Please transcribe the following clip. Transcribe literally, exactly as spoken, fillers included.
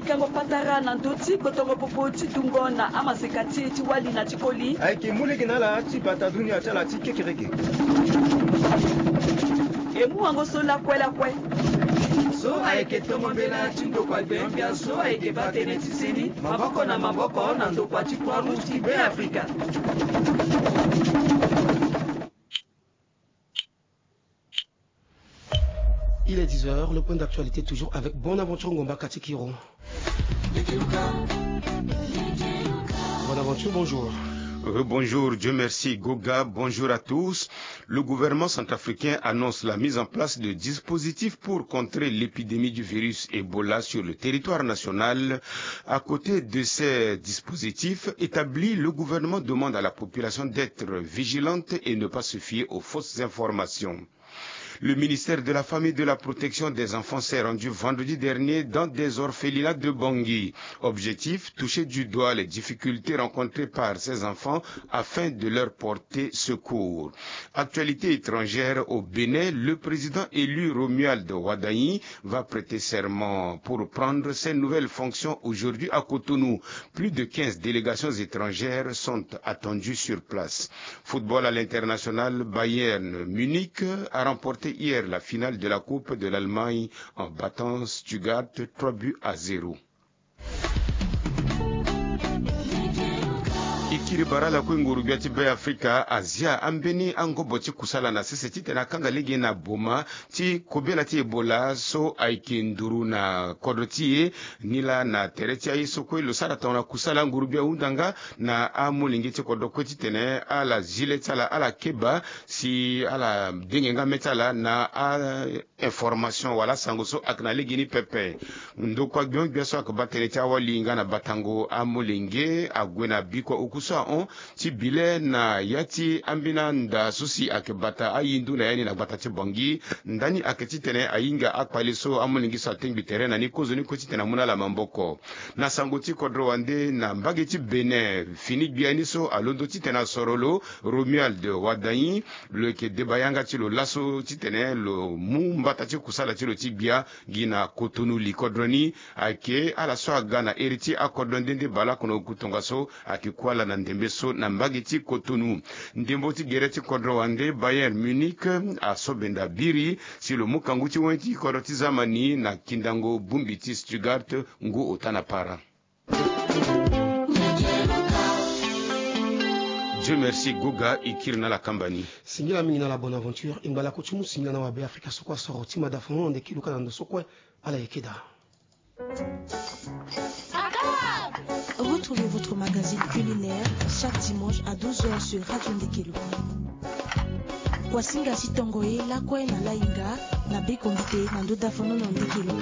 Kango patara na ndö ti kpotongo popo ti dungo na amaseka ti e ti wali na ti koli. Ayeke mu lege na ala ti bata dunia ti ala ti kekereke. E mu wango so lakue lakue. So ayeke tongo mbela ti ndokua gbia so ayeke baa tënë ti seni maboko na maboko na ndokua ti Croix Rouge ti Beafrika. Il est dix heures, le point d'actualité toujours avec Bonaventure Ngomba Kati Kiro. Bonaventure, bonjour. Euh, bonjour, Dieu merci, Goga, bonjour à tous. Le gouvernement centrafricain annonce la mise en place de dispositifs pour contrer l'épidémie du virus Ebola sur le territoire national. À côté de ces dispositifs établis, le gouvernement demande à la population d'être vigilante et ne pas se fier aux fausses informations. Le ministère de la Famille et de la Protection des Enfants s'est rendu vendredi dernier dans des orphelinats de Bangui. Objectif, toucher du doigt les difficultés rencontrées par ces enfants afin de leur porter secours. Actualité étrangère au Bénin, le président élu Romuald Wadagni va prêter serment pour prendre ses nouvelles fonctions aujourd'hui à Cotonou. Plus de quinze délégations étrangères sont attendues sur place. Football à l'international, Bayern Munich a remporté hier la finale de la Coupe de l'Allemagne en battant Stuttgart trois buts à zéro. E kiri bara lakue nguru gbia ti Beafrika azia ambeni angobo ti kusala na sese titene akanga lege na boma ti kobela ti Ebola so ayeke nduru na kodro ti e. Ni laa na tere ti aye so kue lo sara tongana kusala nguru gbia ahunda nga na amolenge ti kodro kue titene ala zi le ti ala ala keba si ala denge nga mê ti ala na a information wala asango so ayeke na legeni pepe. Ndokua gbiongbia so ayeke baa tënë ti awali nga na batango amolenge ague na bikua oku so ahon ti bi le na ya ti ambeni anda so si ayeke bata ahindu na ya ni na gbata ti Bangui. Ndani ayeke titene ahinga akpale so amolenge so atengbi tere na ni kozoni kue titene amu na ala maboko. Na sango ti kodro wande na mbage ti Bénin, fini gbia ni so alondo titene asoro lo, Romuald Wadagni, lo yeke deba yanga ti lo laso titene lo mu mbata ti kusala ti lo ti gbia gi na Cotonou li. Kodro ni ayeke ala so aga na iri ti akodro nde nde baleoko na oku tongaso ayeke ku ala na ndembe so na mbage ti Cotonou. Ndembo ti gere ti kodro wande, Bayern Munich aso benda biri si lo mu kangu ti wen ti kodro ti zamani na kindango bongbi ti Stuttgart ngu ota na para. Dieu merci, Goga, e kiri na ala kamba ni. Singila mingi na ala Bonaventure, e ngba lakue ti mu singila na wabe Afrika so kue asoro ti mada funu na ndeke luka na ndo so kue ala yeke daa. Retrouvez votre magazine culinaire chaque dimanche à douze heures sur Radio Ndekelo. Wasinga si tongo ye lakue na lainga na bekombite na ndo dafono na Ndekelo.